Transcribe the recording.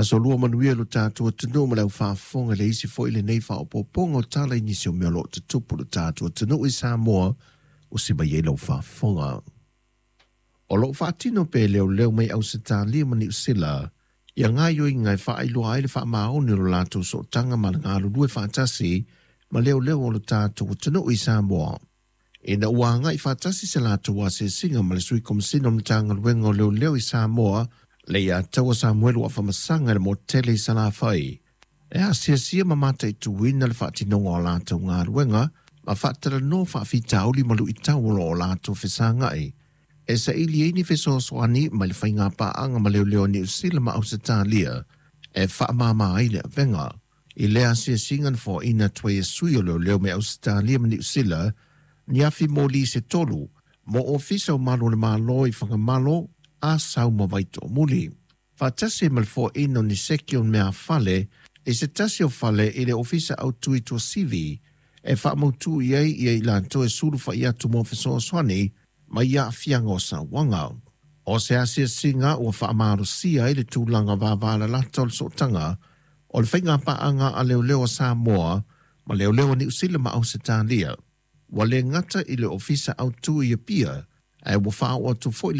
Aso Lua manuia lo tatou atunuu ma le aufaafofoga i le isi foi lenei faaopoopoga o tala i nisi o mea o lo o tutupu i lo tatou atunuu i Samoa ua siva i ai lau faafofoga. O lo o faatino pea e leoleo mai Ausetalia ma Niu Sila ia gaoioiga e faailoa ai le faamaoni o lo latou sootaga ma le galulue faatasi ma leoleo o lo tatou atunuu i Samoa. Ina ua agai faatasi se latou asiasiga ma le Sui Komesina o le Matagaluega o Leoleo i Samoa, Leiataua Samuelu Afamasaga i le motu tele i Salafai, e asiasia ma mataituina le faatinoga o latou galuega ma faatalanoa faafitauli ma luitau o lo o latou fesagai e saili ai ni fesoasoani mai le faiga paaga ma leoleo Niu Sila ma Ausetalia e faamama ai le avega. I lea asiasiga na foaina atu ai e sui o leoleo mai Ausetalia ma Niu Sila ni afi moli se tolu mo ofisa o malu o le Malo i Fagamalo, Asau ma Vaitoomuli, faatasi ma le foaina o ni seki o meafale i se tasi o fale i le ofisa autu i Tuasivi e faamautu i ai ia i latou e sulufai atu mo fesoasoani mai aafiaga o sauaga. O se asiasiga ua faamalosia ai le tulaga vavalalata o le sootaga o le faiga paaga a leoleo a Samoa ma leoleo a Niu Sila ma Ausetalia. Ua le gata i le ofisa autu i Apia, ae ua faaoo atu foi le